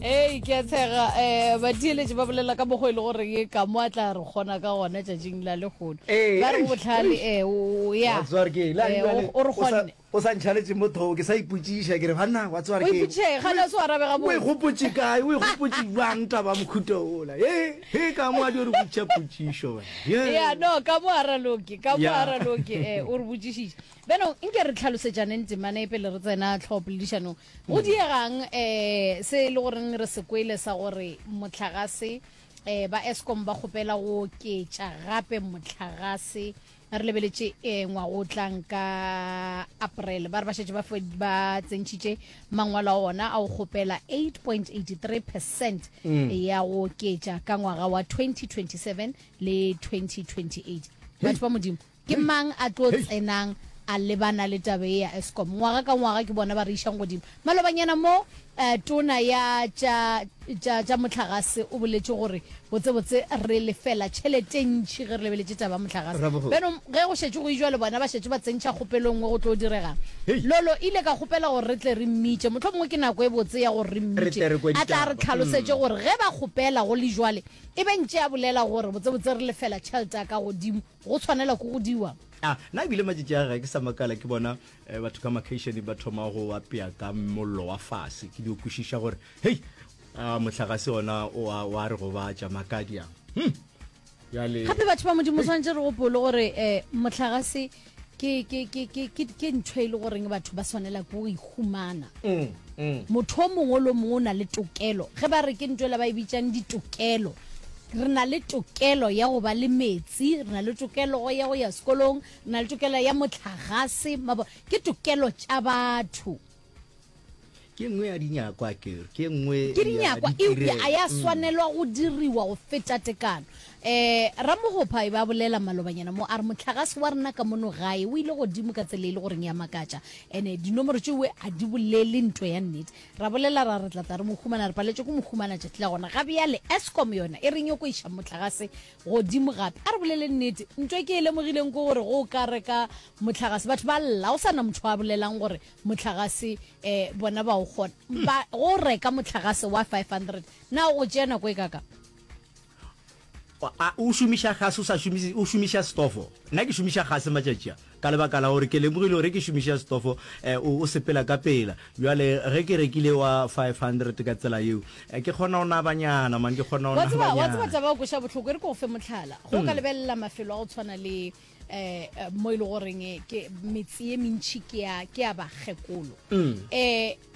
Ei, ke a tshega um batheeletši ba bolela ka mokgwa e le gore ye ka mo a tla re kgona ka gona tšatšing la lehono. Ee, Ba re eish, botlhale eish. eh, o ya Wa tseba gore ke eng? Le Eh, bjale, o o re o sa- kgonne. o sa ntšhaletše mo thoko ke sa ipotšiša ke re banna wa tseba O gore ke eng? ipotšiša eng? Gane o se wa arabe O e gabotse. gopotše kae? O e gopotše bjang taba ya mohuta ola? He, he, ka mo a dio re botšiša potšišo banna. He. Ya, no, ka mo a raloke, ka mo a Ya. raloke, eh, o re botšišitše. Bjanong, nke re tlhalosetšaneng temana e pele re tsena tlhogopoledišanong. Go diegang um se e le goreng re se kwele sa gore mohlagase um ba Eskom ba kgopela go oketša gape mohlagase re lebeletše um ngwaga o tlang ka April ba re ba šetše ba ba tsentšhitše mangwalo a ona a go kgopela 8.83 percent ya go oketša ka ngwaga wa 2027 le 2028. Batho ba Modimo Ke mang a tlo tsenang a lebana le taba ye ya Eskom? Ngwaga ka ngwaga ke bona ba re išang godimo. Malobanyana mo, tona ya tša, tša, tša mohlagase o boletše gore botsebotse re lefela tšhelete ntši ge re lebeletše taba ya mohlagase. Bjano ge go šetše go ijwa le bona ba šetše ba tsentšha kgopelo e nngwe go tlo diregang? Lolo ile ka kgopela gore re tle re mmitše. Mohlomongwe ke nako e botse ya gore re mmitše a tla re tlhalosetše gore ge ba kgopela go le jwale e be ntše a bolela gore botsebotse re lefela tšhelete ya ka godimo. Go tshwanela ke go diwa. A na ebile matšatši a ga ke sa makala ke bona eh, batho ka makeišeneng ba thoma go apea ka mollo wa fase ke dio kwešiša gore hei a mohlagase ona o a wa re gobatša makadi a hmm. Bjale Gape batho ba Modimo swanetše re gopole gore um mohlagase ke ke ke ke ke ke ntho e le goreng batho ba swanela ke go e humana. mm, mm. Motho o mongwe le o mongwe o na le tokelo. Ge ba re ke ntho ela ba e bitsang ditokelo. Re na le tokelo ya go ba le metsi, re na le tokelo ya go ya sekolong, re na le tokelo ya mohlagase, mabo ke tokelo tša batho. Ke nngwe ya dinyakwa ke ke nngwe Ke dinyakwa, eupša a ya swanelwa go diriwa go feta tekano. Um Ramogopha e be a bolela malobanyana mo, a re mohlagase wa rena ka mono gae o ile godimo ka tsela e le goreng ya makatša, ene dinomoro tšeoe a di bolele nto ya nnete. Ra bolela ra re tla tla re mo humana, re paletšwe ke mo humana tšatši la gona. Ga bjale Eskom yona e re nyoko iša mohlagase godimo gape. A re bolele nnete, nto e ke e lemogileng ke gore go ka reka mohlagase batho ba lla, go sa na motho a bolelang gore Mohlagase um bona ba o kgona ba go reka mohlagase wa 500 na o tšea nako e kaka? A o šomiša gase o sa šomiše o šomiša stofo nna ke šomiša gase matšatši a ka lebaka la gore ke lemogile gore ke šomiša stofo um o sepela ka pela bjale ge ke rekile wa 500 ka tsela yeo eh, ke kgona go nabanyana man ke kgona go Wa tseba wa tseba nabanyana taba ya go kweša bohloko e re ke go fe mohlala go ka lebelela mafelo a go tshwana le um mo e le goreng ke metse ye mentšhi ke ya ke ya bakgekolo um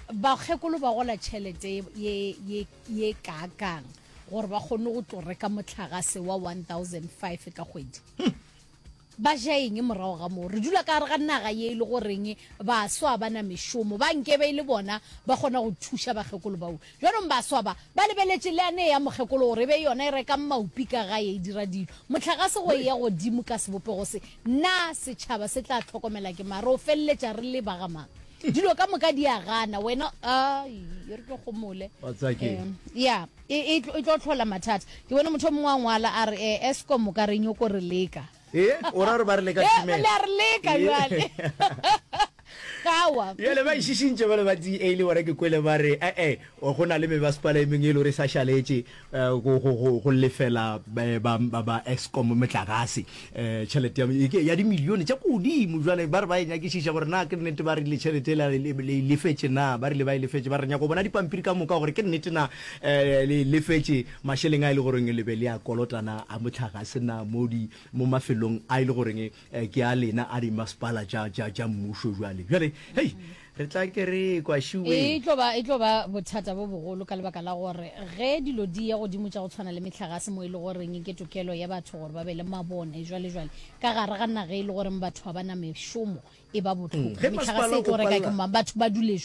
bakgekolo ba gola tšhelete ye ye ye kaakang gore ba kgone go tlo reka mohlagase wa 1005 ka kgwedi ba ja eng morago ga moo re dula ka gare ga naga ye e le goreng baswa ba na mešomo ba nkebe e le bona ba kgona go thuša bakgekolo bao Bjanong baswa ba, ba lebeletše leane ya mokgekolo gore e be yona e rekang maupi ka gae e dira dilo. Mohlagase go eya godimo ka sebopego se, na setšhaba se tla hlokomela ke mang? Re o feleletša re le ba ga mang? Dilo ka moka di a gana, wena, ai, e re ke gomole. Wa tseba ke eng? Ya, e, e, e tlo hlola mathata. Ke bone motho o mongwe a ngwala a re, eh, Eskom o ka re nyoko re leka. Ee, o ra gore ba re leka Eh, thimela. le a re leka Ee. bjale. Kawa. Bjale ba išišintše bale ba DA le bona ke kwele ba re ee go na le mebasepala e mengwe e le gore e sa šaletše eh, go, go, go, go lefela eh, ba, ba, ba Eskom motlakase eh, tšhelete ya, e ke- ya dimilione tša ko godimo. Jwale ba re ba e nyakišiša gore na ke nnete ba rile tšhelete ela le, le e lefetše na, ba rile ba e lefetše, ba re nyaka go bona dipampiri ka moka gore ke nnete na eh, le e lefetše Mašeleng a e le goreng le be le a kolota na a mohlagase na mo di, mo mafelong a e le goreng ke a lena a dimasepala tša, tša, tša mmušo bjale? Bjale, hei, re tla ke re kwa šiweng. E tlo ba, e tlo ba bothata bo bogolo ka lebaka la gore ge dilo di ya godimo tša go tshwana le mehlagase mo e le goreng ke tokelo ya batho gore ba be le mabone jwale jwale ka gare ga naga e le goreng batho ga ba na mešomo e ba bohloko. Ge Mehlagase masepala e tlo o reka ke palela. mang? Batho ba dule jwang?